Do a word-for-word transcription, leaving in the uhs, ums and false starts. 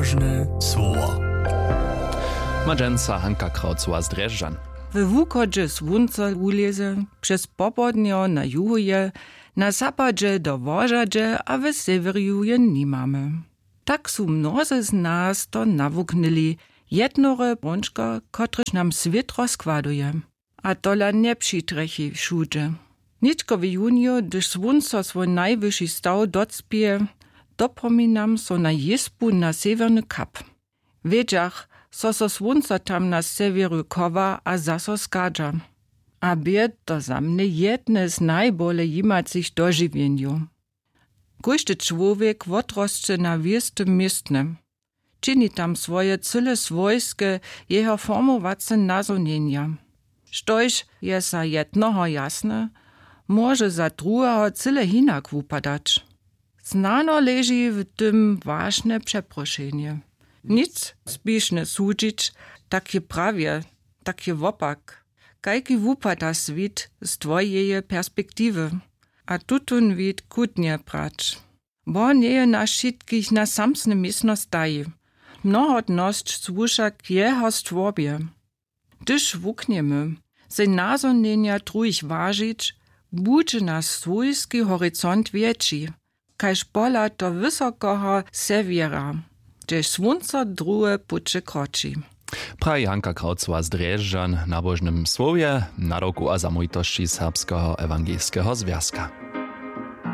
Nabožne słowo. Ma dźensa Hanka Krawcowa z Drježdźan. We wuchodźe słónco wulěze, přez popołdnjo na juhuje, na zapadźe do wožadźe a w sewjerju je nimamy. Tak su mnozy z nas to nawuknyli, jednore brąčko, kotrež nam swět rozkładuje. A tola njepřitrjechi wšudźe. Nětko w junju, hdyž słónco swój najwyši staw docpěje, dopominam so na jězbu na sewjerny kap. Wědźach, zo so słónco tam na sewjeru chowa a zaso schadźa. A bě to za mnje jedne z najbole jimacych dožiwjenjow. Kóždy čłowjek wotrosće na wěstym městnje. Čini tam swoje cyle swójske, jeho formowace nazhonjenja. Štož je za jednoho jasne, móže za druheho cyle hinak wupadać. Snano leži w tym wašnje přeprošenje. Nic spišne sudźić, tak je prawje, tak je wopak. Kajki wupada swět z twojeje perspektiwy? A tutón wid chutnje brać. Bóh njeje nas wšitkich na samsne městno stajił. Mnohotnosć słuša k jeho stwórbje. Hdyž wuknjemy sej nazhonjenja druhich wažić, budźe naš swójski horizont wjetši, kaž pohlad do wysokeho sewjera, hdźež słónco druhe puće kroči. Praji Hanka Krawcowa z Drježdźan w nabožnym słowje, nadawku a zamołwitosći Serbskeho ewangelskeho zwjazka.